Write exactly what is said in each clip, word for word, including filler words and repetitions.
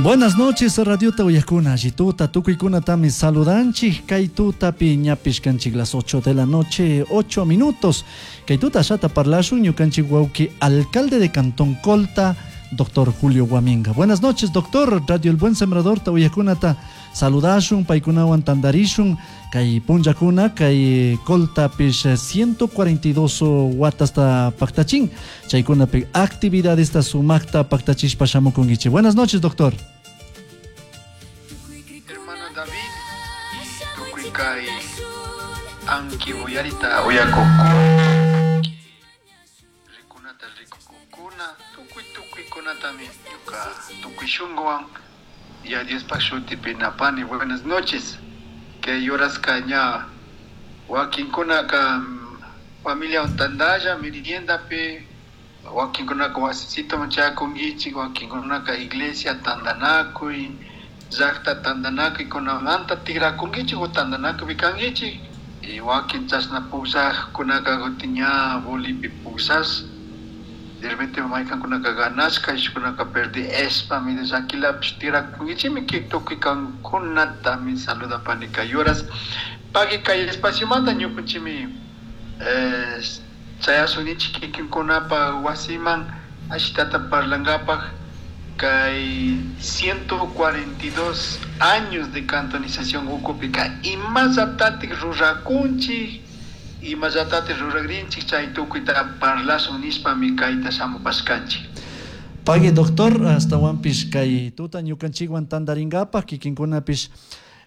Buenas noches, Radiota uyajkuna, allituta, tukuykunatami saludanchik, kay tutapi ñapish kanchik las ocho de la noche, ocho minutos. Kay tuta ashata parlashun ñukanchik wawki alcalde de Cantón Colta, doctor Julio Guaminga. Buenas noches, doctor. Radio El Buen Sembrador ta uyajkunata saludashun, paykunawan tandarishun, kay punllakuna, kay Coltapish ciento cuarenta y dos watasta paktachin, chaykunapi actividadesta sumakta paktachishpa shamukunkichik. Buenas noches, doctor. Hermano David, tukuy kay anki uyarita uyakukuna, rikunata rikukukuna, tukuy tukuykunatami ñuka tukuy shunkuwan ya Diospaj shutipi napani. Buenas noches. Kay horaska ña wakinkunaka familia tandalla meriendapi, wakinkunaka wasisitoman chayakunkichik, wakinkunaka iglesia tandanakuy, llakta tandanakuykunamanta tikrakunkichik o tandanakuypi kankichik, y wakin chashna pukllajkunaka kutin ña bolipi pukllash, de repente maykankunaka ganashka, ishkunaka perdishpami llakilapish tikrakunkichikmi. Tukuy kankunatami saludapani kay horas. Pagui kay espaciomanta ñukunchikmi eh, chayashunichik kikinkunapa wasiman ashitata parlankapaj kay ciento cuarenta y dos años de cantonización ukupika imallatatik rurakunchik, imallatatik ruragrinchik, chay tukuyta parlashun nishpami kayta shamupashkanchik. Pagui, doctor, astawanpish kay tuta ñukanchikwan tandaringapaj kikinkunapish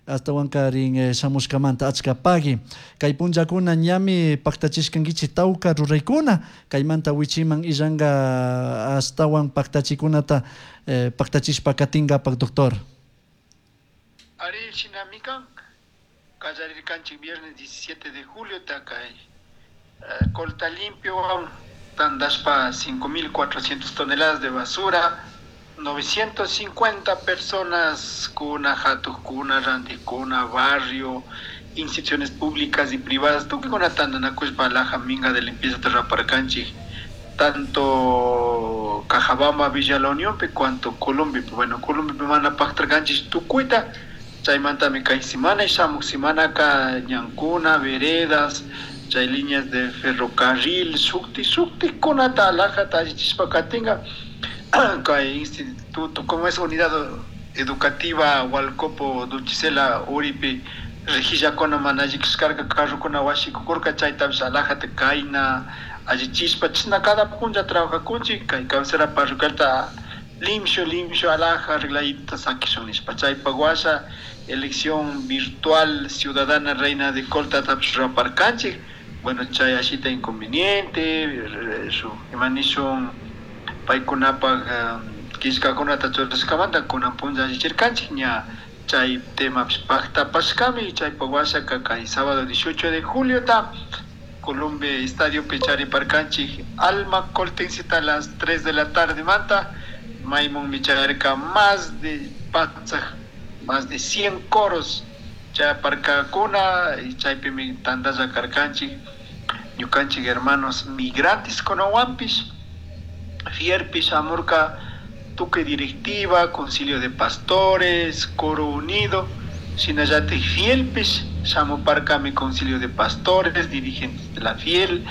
astawankarin eh, shamushkamanta achka pagui. Kay punllakuna ñami paktachishkankichik tawka ruraykuna, kaymanta wichiman illanka astawan paktachikunata eh, paktachishpa katinkapak, doctor. Ari, shinami kan. Kallarirkanchik viernes diecisiete de julio kay eh, Colta Limpio tandashpa cinco mil cuatrocientas toneladas de basura, novecientas cincuenta personas kuna, hatukuna, rantikuna, barrio, instituciones públicas y privadas, tukuykuna tandanakushpa alhaja minga de limpieza raparkanchik tanto Cajabamba, Villa La Unión, cuanto Colombia. Bueno, Colombia mana paktarkanchik tukuyta. Chaymantami kay semana y shamuk semanaka ñankuna, veredas, chay líneas de ferrocarril, shukti shuktikunata alhajata allichishpa katinka. Kay instituto, como es unidad educativa Hualcopo Duchicela uripi rejillakuna mana alli kashkarka, carrokuna washikukurka, chaytapish alhajata kayna allichishpa chashna cada punlla trabajakunchik kay cabecera parroquialta limpio limpio alhaja arregladita sakishun nishpa. Chaypak washa elección virtual ciudadana reina de Colta tapish ruraparkanchik. Bueno, chay ashita inconveniente su imanishun paykunapak killkakunata churashkamanta kunan punlla allichirkanchik, ña chay temapish paktapashkami. Chaypak washaka kay sábado dieciocho de julio ta Colombia Estadio chariparkanchik Alma Coltencita a las tres de la tarde manta, maymunmi chayarka más de patsak, más de cien coros chayaparkakuna y chaypimi tandalla karkanchik ñukanchik hermanos migrantes kunawanpish, fierpish shamurka tukuy directiva, concilio de pastores, coro unido, shinallatik fielpish shamuparkami concilio de pastores, dirigentes de la fiel,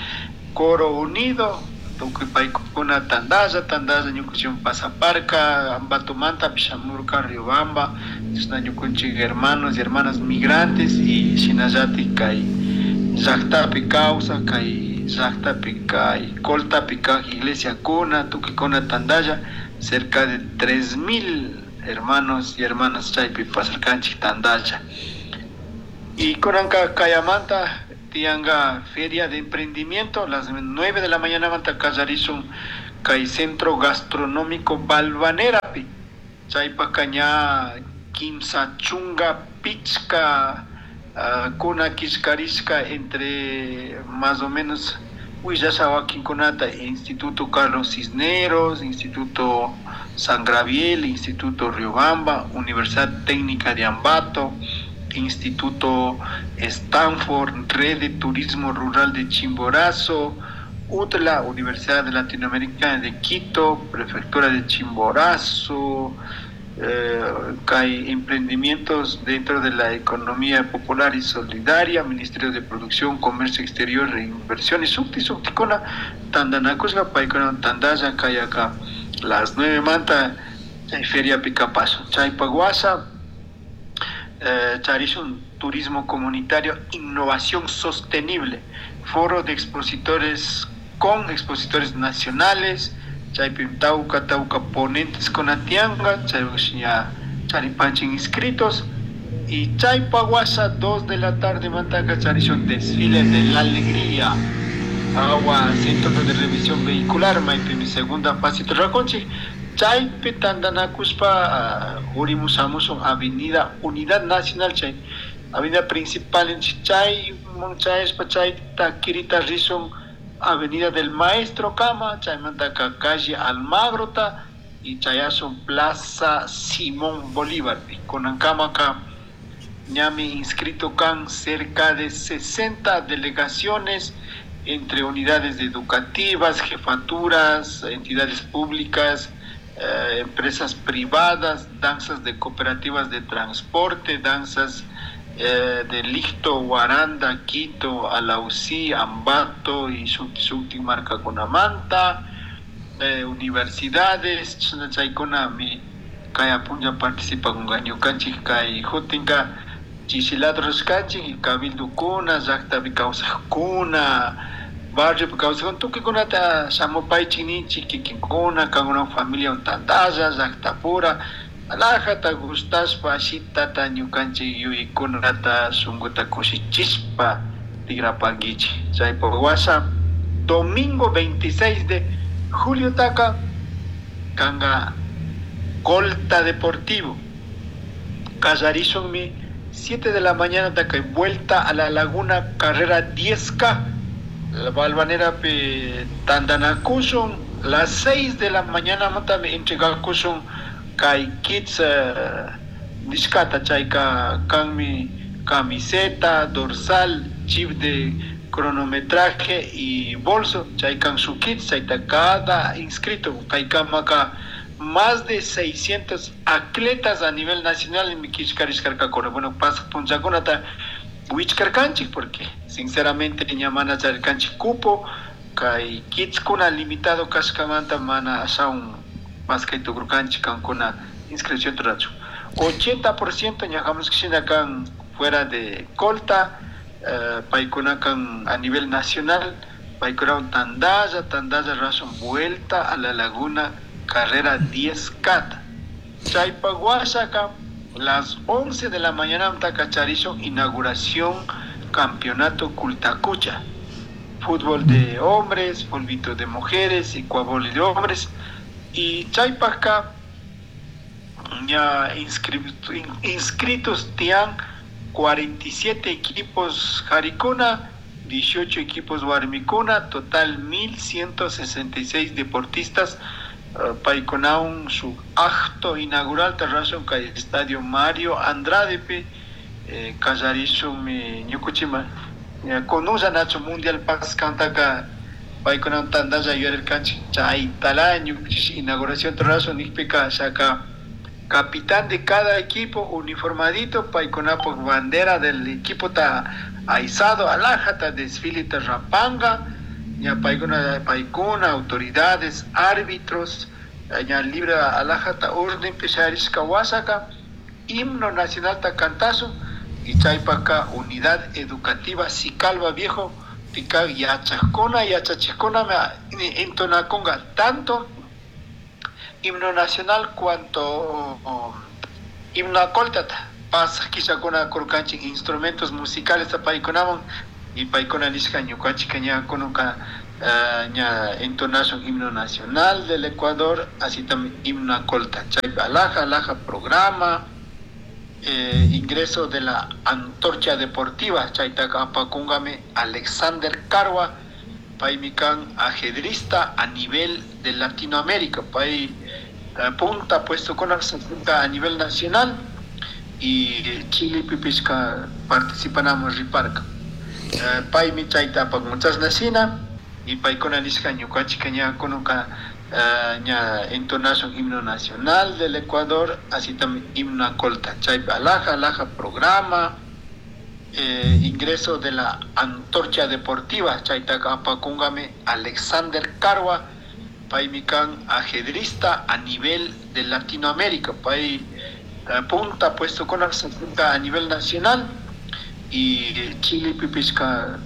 coro unido, tukuy paykuna tandalla tandalla ñukanchik pasaparka. Ambatomanta shamurka Riobamba, chashna ñukanchik hermanos y hermanas migrantes y shinallatik kay llaktapi kawsak, kay llaktapi, kay Coltapi kak iglesiakuna, tukuykuna tandalla, cerca de tres mil hermanos y hermanas chaypi pasarkanchik tandalla. Y kunanka kayamanta tiyanka feria de emprendimiento, a las nueve de la mañana manta kallarishun kay centro gastronómico Balvanerapi. Chaypaka ña kimsa chunka pichka uh, kuna killkarishka, entre más o menos willasha wakinkunata: Instituto Carlos Cisneros, Instituto San Gabriel, Instituto Riobamba, Universidad Técnica de Ambato, Instituto Stanford, Red de Turismo Rural de Chimborazo, UTLA, Universidad Latinoamericana de Quito, Prefectura de Chimborazo, Eh, hay emprendimientos dentro de la economía popular y solidaria, Ministerio de Producción, Comercio Exterior e Inversiones, sukti suktikuna tandanakushka paykuna tandalla kay acá las nueve manta chay feriapi kapasun. Chaypak washa eh, charishun turismo comunitario, innovación sostenible, foro de expositores con expositores nacionales, chaypi tawka tawka ponentes tiyanka, chay charipanchin inscritos y chaypak washa dos de la tarde mantaka charishun desfile de la alegría agua centro de revisión vehicular maypimi segunda fase rurakunchik chaypi tandanakushpa uh, urimusamushun avenida Unidad Nacional chay avenida principal chay chayashpa chayta kirita rishun Avenida del Maestro kama, chaymantaka calle Almagrota y chayasun Plaza Simón Bolívar. Kunankama ñami inscrito kan cerca de sesenta delegaciones entre unidades educativas, jefaturas, entidades públicas, eh, empresas privadas, danzas de cooperativas de transporte, danzas eh, de Licto, Guaranda, Quito, Alausí, Ambato y sukti markakunamanta, eh, universidades, chaykunami kay punlla participakunka ñukanchik kay hutinka chishilata rurashkanchik y cabildukuna, llaktapi kawsakuna, barriopi kawsakuna, tukuykunata shamupaychik ninchik kikinkuna, kankuna familia tantalla, llaktapura, alajata gustashpa ashitata ñukanchik yuyaykunata shunkuta kushichishpa tigrapankichik. Chaypak washa domingo veintiséis de julio taka kanga Colta Deportivo. Kallarishunmi siete de la mañana taka vuelta a la laguna carrera diez K. La Valvanera pe tandanakushun las seis de la mañana matami entregakushun kay kits uh, nishkata chayka kanmi camiseta, dorsal, chip de cronometraje y bolso, chaykan su kits, chayta cada inscrito, kaykamaka más de seiscientos atletas a nivel nacional en kishkarishkarkakuna. Bueno, pasa punchakunata wichkarkanchik porque sinceramente ña mana charirkanchik cupo, kay kitskuna limitado kashkamanta mana ashawan maskay tukurkanchik kankuna inscripción rurachu. ochenta por ciento ñajamos kishina kan fuera de Colta, eh, paykuna kan a nivel nacional, paykuna tandalla, tandalla razón vuelta a la laguna carrera diez K. Chaypak washaka las once de la mañana mtakacharisho inauguración campeonato Kultakucha. Fútbol de hombres, fulbito de mujeres y cuaboli de hombres. Y chaypaka ya inscrito, inscritos tian cuarenta y siete equipos jarikuna, dieciocho equipos warmikuna, total mil ciento sesenta y seis deportistas. Uh, paykunawan su acto inaugural tarrasun kay Estadio Mario Andrade pe, eh, kallarishunmi ñukuchima konulla nacho mundial paskantaka paykunawan tantalla yuyarirkanchik chaytala ñukuchish inauguración tarrasun nikpika shaka capitán de cada equipo uniformadito paykunapaq bandera del equipo ta aizado alajata desfile ta rapanga ña paykuna paykuna autoridades árbitros ña libre alajata orden pesharishka wasaka himno nacional ta cantazo y chaypaka unidad educativa Sicalba Viejo tika yachajkuna yachachijkuna me entonakunga tanto himno nacional cuanto himno acoltata pasaj killakuna kurkanchik instrumentos musicales paykunaman y paykuna nishka ñukanchik ña kununka, eh, ña entonashun himno nacional del Ecuador, así también himno acolta. Chaypi alaja, alaja programa, eh, ingreso de la antorcha deportiva, chaytaka apakungami Alexander Karwa, paymi kan ajedrista a nivel de Latinoamérica, pay, eh, punta puesto con a nivel nacional y Chile pipishka participanamos riparka. Eh, paymi chayta apakunchasna shina y paykuna nishka ñukanchik ña kununka, uh, ña entonación himno nacional del Ecuador, así también himno a colta. Chaypi alhaja, alhaja programa, eh, ingreso de la antorcha deportiva, chaytaka apakunkami Alexander Karwa, paymi kan ajedrista a nivel de Latinoamérica, pay uh, punta puesto con a nivel nacional y Chile pipishka